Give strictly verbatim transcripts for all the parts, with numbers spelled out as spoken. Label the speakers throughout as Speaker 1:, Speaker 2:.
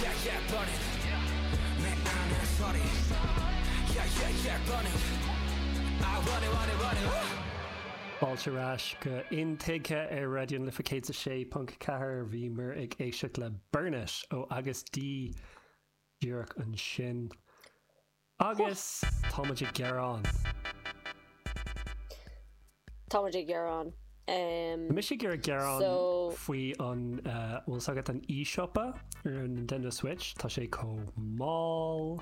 Speaker 1: Yeah, yeah, burn it. 내 안에 소리. Yeah, yeah, yeah, burn it. I want it, want it, want it.
Speaker 2: Fáilte ar ais go Intuigthe ar Raidió na Life céad a sé ponc ceathair bhíomar ag éisteacht le Burn It ó Agust D díreach ansin. Agus táimid ag gearán.
Speaker 3: Táimid ag gearán. Um,
Speaker 2: Mise ag gearán
Speaker 3: So-
Speaker 2: faoi an uh, bhfuil agat an eShop ar an Nintendo Switch, Tá sé chomh mall,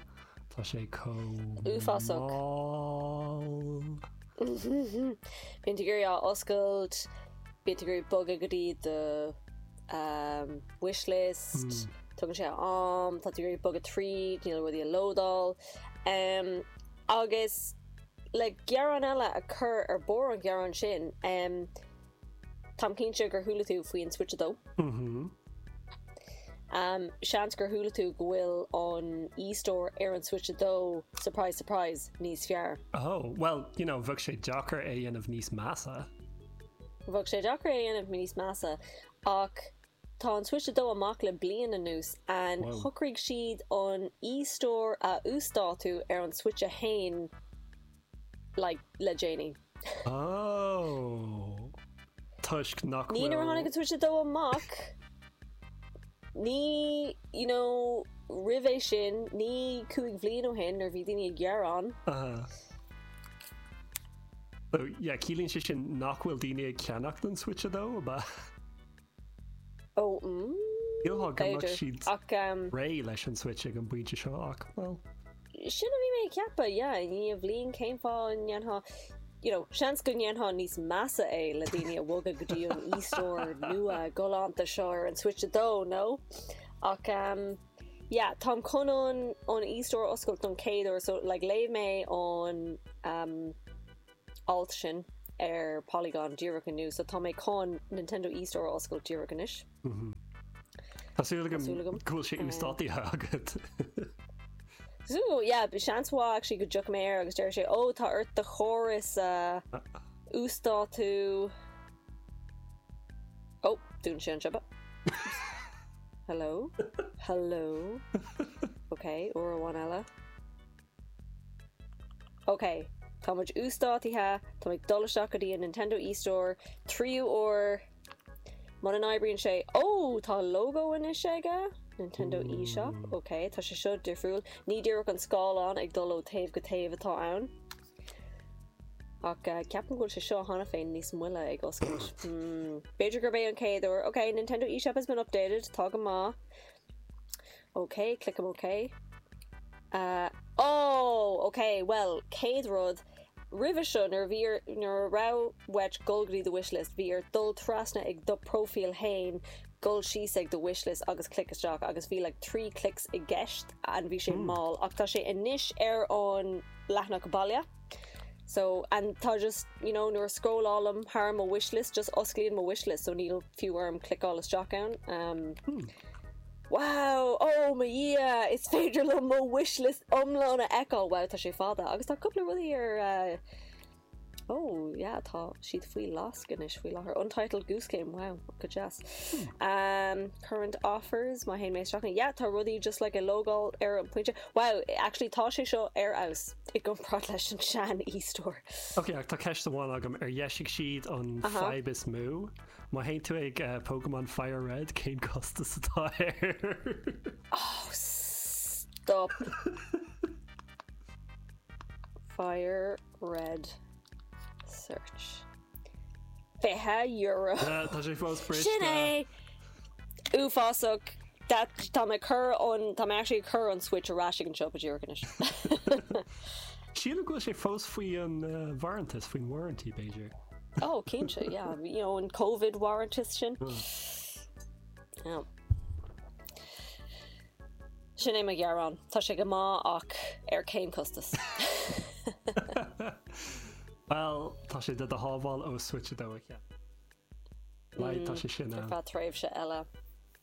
Speaker 2: Tá sé chomh
Speaker 3: Uafásach.
Speaker 2: mall.
Speaker 3: Bíonn tú ag iarraidh á oscailt, bíonn tú ag iarraidh bogadh go dtí do um, wishlist, tugann sé am, tá tú ag iarraidh bogadh tríd, níl rudaí ag lódáil. Um, agus le gearán eile a chur ar bord an gearán sin, um, Táim cinnte gur chuala tú faoin Switch a dó.
Speaker 2: Mhm.
Speaker 3: Um, seans gur chuala tú go bhfuil an e-store ar an Switch a dó, surprise, surprise, níos fearr.
Speaker 2: Oh, well, you know, bheadh sé deacair é dhéanamh níos measa.
Speaker 3: Bheadh sé deacair é dhéanamh níos measa ach tá an Switch a dó amach le bliain anuas an
Speaker 2: Wow.
Speaker 3: shocraigh siad an e-store a uasdátú ar an Switch a haon like, le déanaí.
Speaker 2: Oh. Toisc nach
Speaker 3: Ní nuair a tháinig an Switch a dó amach ní you know, roimhe sin ní cúig bhliain ó shin nuair bhí daoine ag gearán.
Speaker 2: Uh, so, yeah, ciallaíonn sé sin nach bhfuil daoine ag ceannacht an Switch a dó ba
Speaker 3: Ó mm,
Speaker 2: Shílfeá go mbeadh
Speaker 3: b'fhéidir.
Speaker 2: siad
Speaker 3: ach um,
Speaker 2: réidh leis an Switch ag an bpointe seo ach well
Speaker 3: sin a bhí mé ag ceapadh yeah, ní a bhliain cén fáth an ndéanfá you know, seans go ndéanfá níos measa é le daoine a bhogadh go dtí an e-store nua galánta seo ar an Switch a dó no ach um, yeah, táim chun an an e-store oscailt don chéad uair so like, léigh mé an um, alt sin ar Polygon díreach inniu so tá mé chun Nintendo e-store oscailt díreach anois.
Speaker 2: Tá súil
Speaker 3: Tá súil
Speaker 2: agam
Speaker 3: agam.
Speaker 2: go bhfuil sé uasdátaithe agat.
Speaker 3: So yeah, seans mhaith actually go dtiocfaidh mé air agus deir sé ó tá ort do chóras uh, uasdátú Oh, dún sé an siopa. Hello? Hello? Ok, uair amháin eile. Ok, Tá muid uasdátaithe, Tá ag dul isteach go dtí an Nintendo eStore, tríú uair Muna n-oibríonn sé ó tá logo anois aige Nintendo eShop, Ok, tá sé seo difriúil, ní díreach an scáileán ag dul ó taobh go taobh atá ann. Ach uh, ceapaim go bhfuil sé seo cheana féin níos moille ag oscailt. Hmm. B'fhéidir gurb é an chéad uair. Ok, Nintendo eShop has been updated, tá go maith. Ok, click OK. Uh, oh, ok, well, céad rud, roimhe seo nuair bhí nuair a raibh uait dul go dtí do wishlist, bhí ort dul trasna ag do profile féin, dul síos ag do wishlist agus click isteach agus bhí like three clicks i gceist and bhí sé mall ach tá sé anois ar an leathanach baile. So and tá just you know nuair a scrollálaim thar mo wishlist just osclaíonn mo wishlist so níl fiú orm cliceáil isteach ann. Um, Wow, oh mo Dhia, is féidir liom mo wishlist iomlán a fheiceáil wow tá sé fada agus tá cúpla rudaí ar uh, Oh yeah tá siad faoi lasc anois faoi láthair Untitled Goose Game wow go deas. Um, current offers má théann mé isteach yeah tá rudaí just like a logo ar an pointe wow actually tá sé seo ar fheabhas i gcomparáid leis an sean e-store.
Speaker 2: Ok, ach tá ceist amháin agam ar dheisigh siad an
Speaker 3: Aha.
Speaker 2: fadhb is mó. Má théann tú ag uh, Pokemon Fire Red cén costas atá air.
Speaker 3: Oh stop. Fire Red search. Fiche euro.
Speaker 2: Uh, Tá sé fós
Speaker 3: Sin
Speaker 2: briste.
Speaker 3: é uafásach that tá mé chun an tá mé actually chun an Switch ar ais ag an siopa díreach anois.
Speaker 2: Sílim go bhfuil sé fós faoi an uh, warrantas faoin warranty b'fhéidir.
Speaker 3: oh cinnte yeah you know an COVID warranty sin. Yeah. Sin é mo ghearán Tá sé go maith ach ar cén costas.
Speaker 2: Well, tá sé de do shábháil ó Switch a dó a cheannach. Lai tá sé sin
Speaker 3: Ar
Speaker 2: ann.
Speaker 3: feadh tréimhse eile.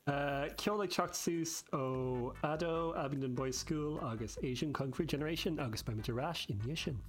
Speaker 2: Uh, Ceol ag teacht suas ó Ado, Abingdon Boys School agus Asian Kung Fu Generation agus beimid ar ais i ndiaidh sin.